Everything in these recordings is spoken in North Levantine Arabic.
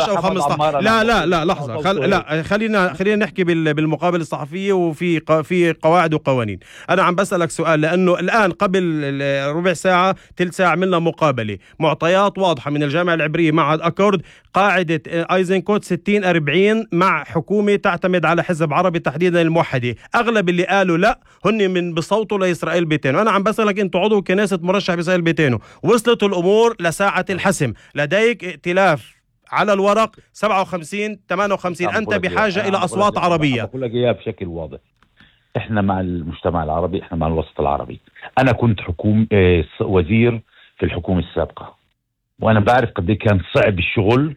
14 أو 15. لا لحظة، لا خلينا نحكي بالمقابلة الصحفية، في قواعد وقوانين. أنا عم بسألك سؤال لأنه الآن قبل ربع ساعة تلت ساعة عملنا مقابلة، معطيات واضحة من الجامعة العبرية معهد أكورد، قاعدة ايزنكوت 60-40 مع حكومة تعتمد على حزب عربي تحديدا الموحدة. أغلب اللي قالوا لا هن من بصوتوا لإسرائيل بيتينو. أنا عم بسألك أنت عضو كنيسة مرشح بإسرائيل بيتينو، وصلت الأمور لساعة الحسم، لديك ائتلاف على الورق 57-58، أنت بحاجة إلى أصوات عربية. أقول لك إياها بشكل واضح، إحنا مع المجتمع العربي، إحنا مع الوسط العربي. أنا كنت وزير في الحكومة السابقة، وأنا بعرف قد إيه كان صعب الشغل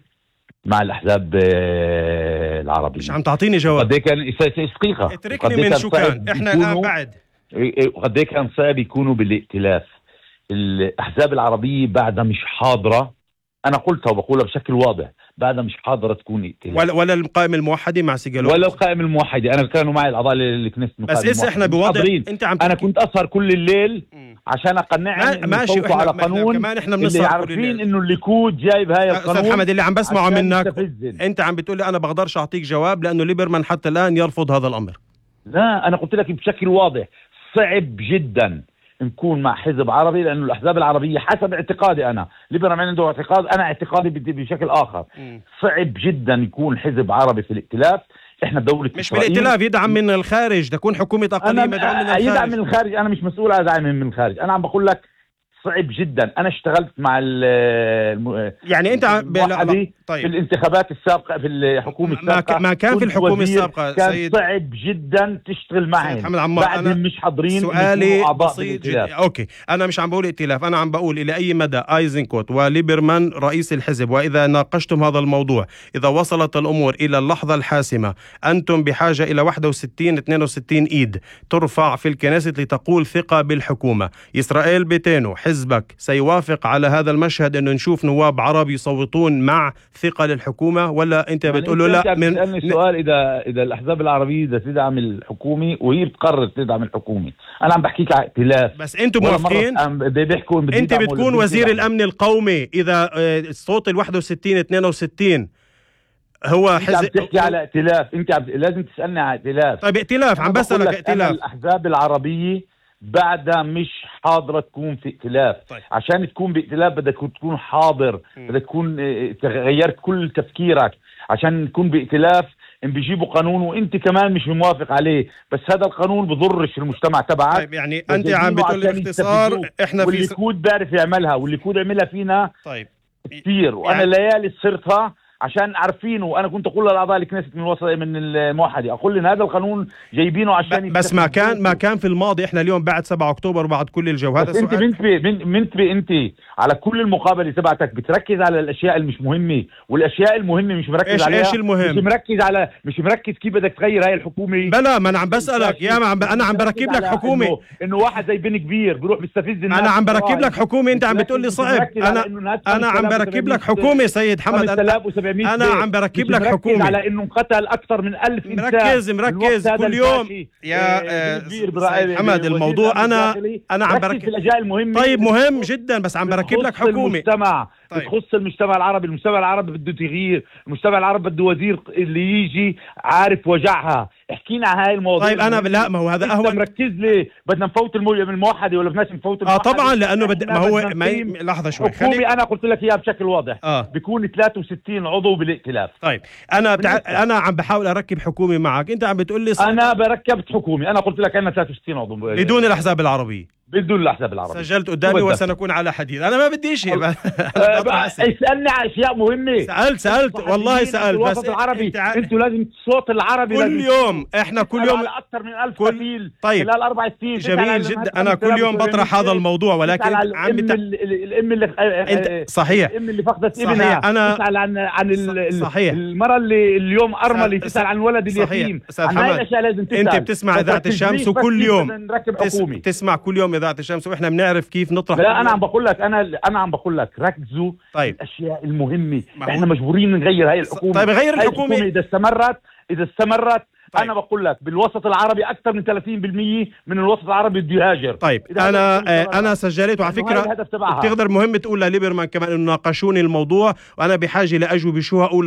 مع الأحزاب العربية. مش عم تعطيني جواب. قد إيه كان دقيقة، اتركني من شو كان إحنا الآن بعد قد إيه كان صعب يكونوا بالائتلاف. الأحزاب العربية بعدها مش حاضرة، أنا قلتها وبقولها بشكل واضح، بعدها مش حاضرة تكون ائتلاف. ولا القائمة الموحدة مع سيجالوف ولا القائمة الموحدة. أنا كانوا معي الأعضاء اللي كنت بس إسا إحنا بوضع أنا كنت أسهر كل الليل عشان أقنعهم ماشي على قانون كمان إحنا اللي عارفين إنه الليكود جايب هاي القانون. أستاذ محمد اللي عم بسمعه منك أنت عم بتقولي أنا بقدرش أعطيك جواب لأنه ليبرمان حتى الآن يرفض هذا الأمر. لا أنا قلت لك بشكل واضح صعب جدا نكون مع حزب عربي، لأنه الأحزاب العربية حسب اعتقادي أنا، ليبرمان عنده اعتقاد، أنا اعتقادي بشكل آخر. صعب جدا يكون حزب عربي في الائتلاف. إحنا بدولة مش بالائتلاف، يدعم من الخارج، تكون حكومة أقلية مدعوم من الخارج. يدعم من الخارج، أنا مش مسؤول عن دعم من الخارج. أنا عم بقول لك صعب جدا. أنا اشتغلت مع يعني أنت في الانتخابات السابقة في الحكومة السابقة، ما كان في الحكومة السابقة كان سيد صعب جدا تشتغل معهم، بعدهم مش حاضرين. سؤالي بسيط جدا. أوكي، أنا مش عم بقول ائتلاف، أنا عم بقول إلى أي مدى ايزنكوت وليبرمان رئيس الحزب، وإذا ناقشتم هذا الموضوع، إذا وصلت الأمور إلى اللحظة الحاسمة، أنتم بحاجة إلى 61-62 إيد ترفع في الكنيسة لتقول ثقة بالحكومة. إسرائيل بيتينو حزبك سيوافق على هذا المشهد انه نشوف نواب عرب يصوتون مع ثقة للحكومة، ولا انت بتقول له لا؟ من سؤال اذا الاحزاب العربية بدها تدعم الحكومة وهي بتقرر تدعم الحكومة، انا عم بحكيك على ائتلاف. بس انتم موافقين؟ انت بتكون وزير الامن القومي اذا الصوت 61-62 هو حزب. انت عم تحكي على ائتلاف، انت لازم تسألني على ائتلاف. طيب ائتلاف، عم بسألك ائتلاف. الاحزاب العربية بعدها مش حاضرة تكون في ائتلاف. طيب. عشان تكون بائتلاف بدك تكون حاضر، بدك تكون تغيرت كل تفكيرك. عشان تكون بائتلاف ان بيجيبوا قانون وانت كمان مش موافق عليه، بس هذا القانون بضرش المجتمع تبعك. طيب يعني انت عم بتقول باختصار احنا في والليكود بعرف يعملها، والليكود عملها فينا طيب كثير، وانا ليالي صرتها عشان عارفينه. وانا كنت اقول للاعضاء الكنيسة من الوسط من الموحدة، اقول لهم هذا القانون جايبينه عشان بس ما كان في الماضي. احنا اليوم بعد 7 أكتوبر بعد كل الجو. هذا السؤال انت على كل المقابله تبعتك بتركز على الاشياء اللي مش مهمه، والاشياء المهمه مش مركز عليها. ايش المهم؟ مش مركز كيف بدك تغير هاي الحكومه. بلا ما انا عم بسالك يا انا عم بركب لك حكومه انه واحد زي بن كبير بيروح بيستفز الناس. انا عم بركب لك حكومه، انت عم بتقول لي صعب. انا عم بركب لك حكومه سيد حمد. انا عم بركب لك حكومه على انه انقتل اكثر من 1000 انسان. مركز كل يوم يا حمد. الموضوع انا عم بركب في الاشياء المهمه. طيب مهم جدا، بس عم بركب لك حكومه بتخص المجتمع العربي. المجتمع العربي بده تغيير، المجتمع العربي بده وزير اللي يجي عارف وجعها. احكينا عن هاي المواضيع. طيب انا لا، ما هو هذا اهون. مركز ليه بدنا نفوت الموحدة ولا بدناش نفوت الموحدة؟ طبعا لانه ما هو لحظه شوي خليك. انا قلت لك اياها بشكل واضح. بيكون 63 عضو بالائتلاف. طيب انا عم بحاول اركب حكومه معك، انت عم بتقول لي انا بركبت حكومه. انا قلت لك انا 63 عضو بدون الاحزاب العربية. بدون الأحزاب العربية. سجلت قدامي وسنكون على حديث. أنا ما بدي شيء. اسألني على أشياء مهمة. سألت والله سألت. بس العربي أنتوا لازم الصوت العربي كل يوم. إحنا كل يوم على أكثر من 1000 قتيل خلال 4 سنين. جميل جدا. أنا كل يوم بطرح هذا الموضوع، ولكن الأم اللي صحيح الأم اللي فقدت ابنها. أنا تسأل عن المرأة اللي اليوم أرملة، تسأل عن الولد اليتيم. عن هاي الأشياء لازم تسأل. أنت بتسمع إذاعة الشمس وكل يوم تسمع كل يوم إذاعة الشمس، وإحنا بنعرف كيف نطرح. لا أنا عم بقول لك أنا عم بقول لك ركزوا. طيب. الأشياء المهمة. إحنا مجبورين نغير هاي الحكومة. طيب غير الحكومة إذا استمرت طيب. أنا بقول لك بالوسط العربي أكثر من 30% من الوسط العربي بده يهاجر. طيب أنا سجلت، وعلى فكرة بتقدر مهم تقول لليبرمان كمان إنه ناقشوني الموضوع، وأنا بحاجة لأجوبة شو هقول